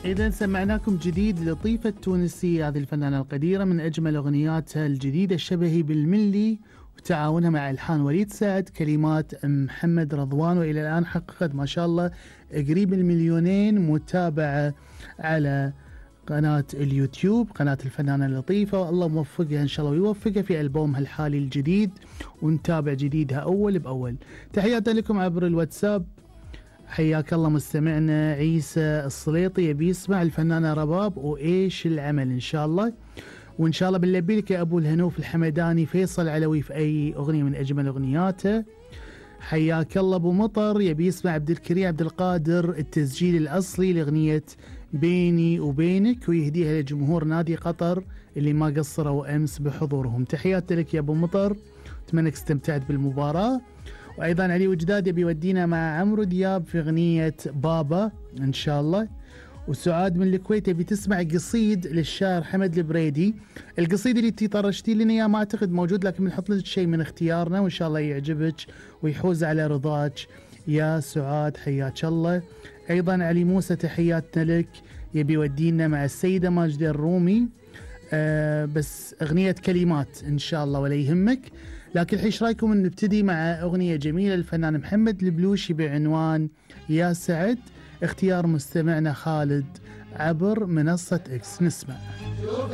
إذا سمعناكم جديد لطيفة التونسية، هذه الفنانة القديرة من أجمل أغنياتها الجديدة الشبهي بالملي، وتعاونها مع ألحان وليد سعد، كلمات محمد رضوان، وإلى الآن حققت ما شاء الله قريب ال2,000,000 متابعة على قناة اليوتيوب، قناة الفنانة اللطيفة. والله موفقها إن شاء الله ويوفقها في ألبومها الحالي الجديد، ونتابع جديدها أول بأول. تحياتي لكم عبر الواتساب. حياك الله مستمعنا عيسى السليطي، يبي يسمع الفنانة رباب وإيش العمل إن شاء الله. وإن شاء الله بنلبي لك يا أبو الهنوف الحمداني فيصل علوي في أي أغنية من أجمل أغنياته. حياك الله. أبو مطر يبي يسمع عبد الكريم عبد القادر التسجيل الأصلي لأغنية بيني وبينك، ويهديها لجمهور نادي قطر اللي ما قصروا أمس بحضورهم. تحياتي لك يا أبو مطر، أتمنى انك استمتعت بالمباراة. وأيضا علي وجداد يبي يودينا مع عمرو دياب في أغنية بابا إن شاء الله. وسعاد من الكويت يبي تسمع قصيد للشاعر حمد البريدي. القصيد اللي طرشتي لنا اياه ما اعتقد موجود، لكن بنحط لك شيء من اختيارنا وان شاء الله يعجبك ويحوز على رضاك يا سعاد. حياك الله. ايضا علي موسى تحياتنا لك، يبي يودينا مع السيدة ماجدة الرومي بس اغنية كلمات ان شاء الله ولا يهمك. لكن ايش رايكم نبتدي مع اغنية جميلة للفنان محمد البلوشي بعنوان يا سعد، اختيار مستمعنا خالد عبر منصة اكس. نسمع.